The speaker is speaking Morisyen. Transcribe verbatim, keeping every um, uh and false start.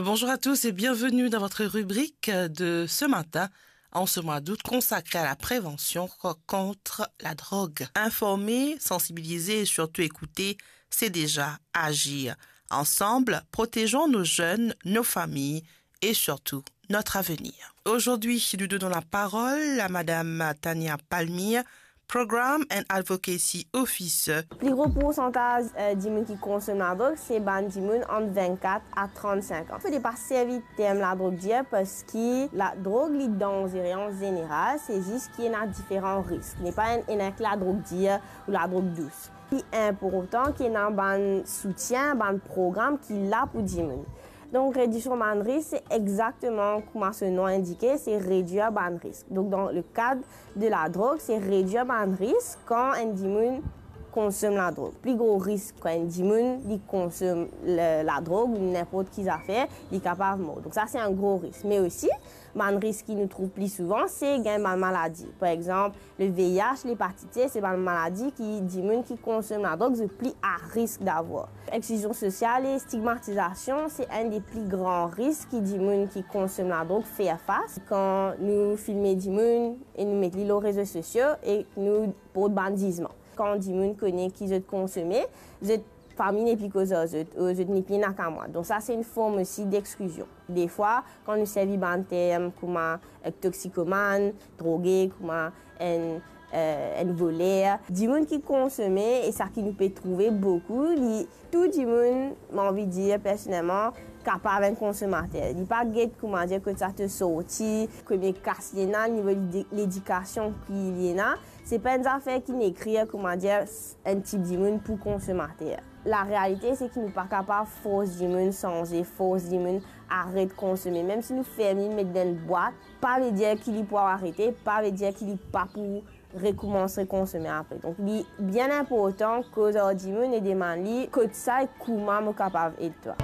Bonjour à tous et bienvenue dans votre rubrique de ce matin, en ce mois d'août consacré à la prévention co-, contre la drogue. Informer, sensibiliser et surtout écouter, c'est déjà agir. Ensemble, protégeons nos jeunes, nos familles et surtout notre avenir. Aujourd'hui, nous donnons la parole à Madame Tania Palmyre, Program and Advocacy Officer. Pli gro poursantaz, eh, dimoun ki konsom ladrog, se bann dimoun ant vennkat a trannsenk an. Fode pa servi term ladrog dir, parski ladrog, li danzere an zeneral, se zis ki ena diferan risk. Li pa enn, enn ek ladrog dir ou ladrog dous. Li inportan ki ena bann soutien, bann program ki la pou dimoun. Donk, rediksion bann risk, se exakteman kouma so nom indike, se redwir bann risk. Donk, dan le kad de ladrog, se redwir bann risk kan enn dimoun konsom ladrog. Pli gro risk kan enn dimoun li konsom le, ladrog ou ninport ki zafer, li kapav mor. Donk, sa, se enn gro risk. Me osi, bann risk ki nou trouv pli souvan, se gagn bann maladi. Par exanp, le V I H, lepatit C, se bann maladi ki dimoun ki konsom ladrog, zot pli a risk davwar. Exklizion sosial e stigmatizasion, se enn de pli gran risk ki dimoun ki konsom ladrog fer fas. Kan nou filme dimoun e nou met li lor rezo sosio e nou port bann zizman. Kan dimoun kone ki zot konsome, zot fami nepli koz ar zot, ou zot nepli ena kamwad. Donk sa, se enn form osi dexklizion. Defwa, kan nou servi bann term kouma, eh, toksikomann, droge, kouma enn, eh, enn voler, dimoun ki konsome, e sa ki nou pe trouve boukou, li, tou dimoun, mo anvi dir personelman, kapav enn konsomater. Li pa get, kouma dir, kot sa to sorti, komie kas li ena, nivo lidi-, ledikasion ki li ena. Se pa enn zafer ki inn ekrir, kouma dir, enn tip dimoun pou konsomater. Larealite, se ki nou pa kapav fors dimoun sanze, fors dimoun aret konsome. Mem si nou ferm li, met dan enn bwat, pa ve dir ki li pou arete, pa ve dir ki li pa pou rekoumans rekonsome apre. Donk, li bien inportan koz ar dimoun e demann li, kot sa e kouma mo kapav ed twa.